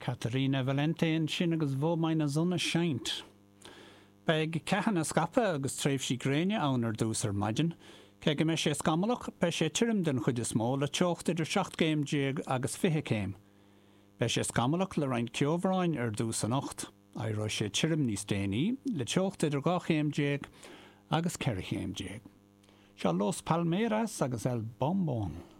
Caterina Valente ansin agus Wo meine Sonne scheint. Beidh ceathanna scaipthe agus tréimhsí gréine ann ar dtús ar maidin. Cé go mbeidh sé scamallach, beidh sé tirim den chuid is mó le teocht idir 17 gcéim agus 20 céim. Beidh sé scamallach le roinnt ceobhráin ar dtús anocht. Éireoidh sé tirim níos déanaí, le teocht idir 12 chéim agus 14 chéim. Seo Los Palmeras agus El Bombón.